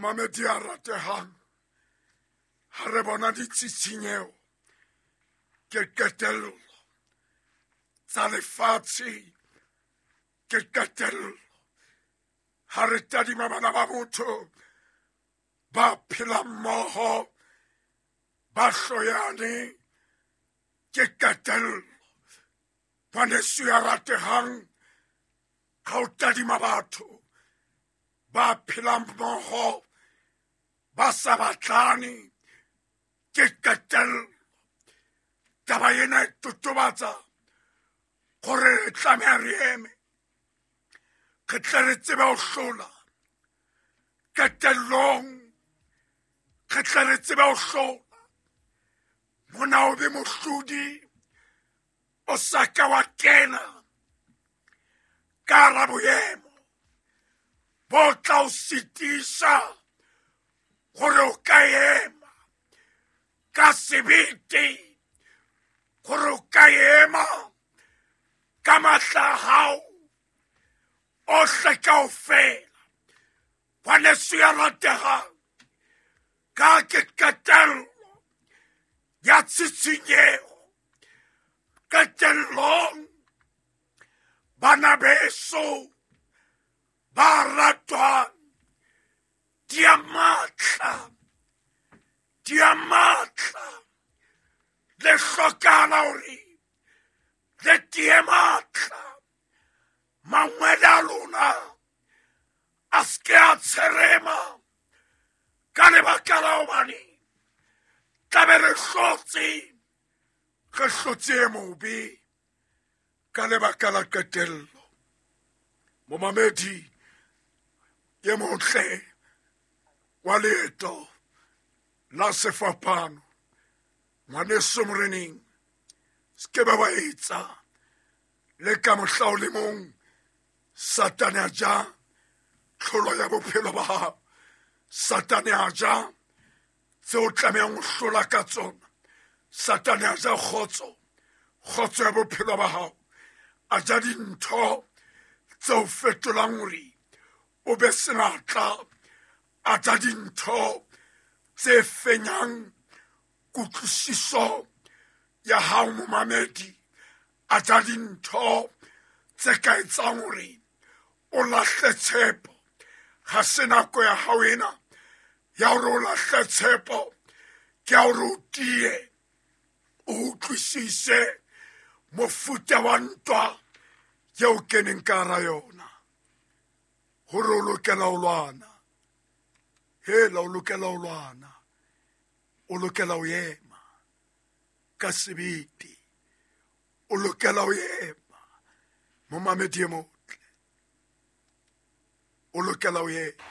Momamedi ya ratehang, ha re bona ditshitshinyeho ke qetello tsa lefatshe, ke qetello ha re tadima bana ba motho ba phelang mmoho ba hloyane, ke qetello. Ngwaneso ya ratehang, ha o tadima batho ba phelang mmoho ba sa batlane, ke qetello. Taba ena e totobatsa gore re tlameha re eme, re tle re tsebe ho hlola qetellong, re tle re tsebe ho hlola. Mona o be mohlodi o sa ka wa kena ka hara boemo bo tla o sitisa gore o ka ema ka sebete, gore o ka ema ka matla a hao ohle kaofela. Ngwaneso ya rategang, ka ke qetello ya tshitshinyeho. Qetellong bana beso ba ratwang, di a matla, di a matla, le hlokahala hore le tie matla. Mangwele a lona a se ke a tsherema ka lebaka la hobane tlabe re hlotse, re hlotse e mobe ka lebaka la qetello. Momamedi e motle wa leeto la sefapano, ngwaneso moreneng, se ke ba wa etsa le ka mohla o le mong Satane a ja tlholo ya bophelo ba hao. Satane a ja tseo tlamehang ho hlola ka tsona. Satane a ja kgotso, kgotso ya bophelo ba hao. A ja dintho tseo fetolang hore o be senatla. A ja dintho tse fenyang kutlwisiso ya hao momamedi. A ja dintho tse ka etsang hore o lahle tshepo. Ga se nako ya hao ena ya hore o lahle tshepo, ke ya hore o tie, o utlwisise mofuta wa ntwa yeo keneng ka hara yona, hore o lokela ho lwana. Hela, o lokela ho lwana, o lokela ho ema ka sebete, o lokela ho ema momamedi e motle, o lokela ho ema.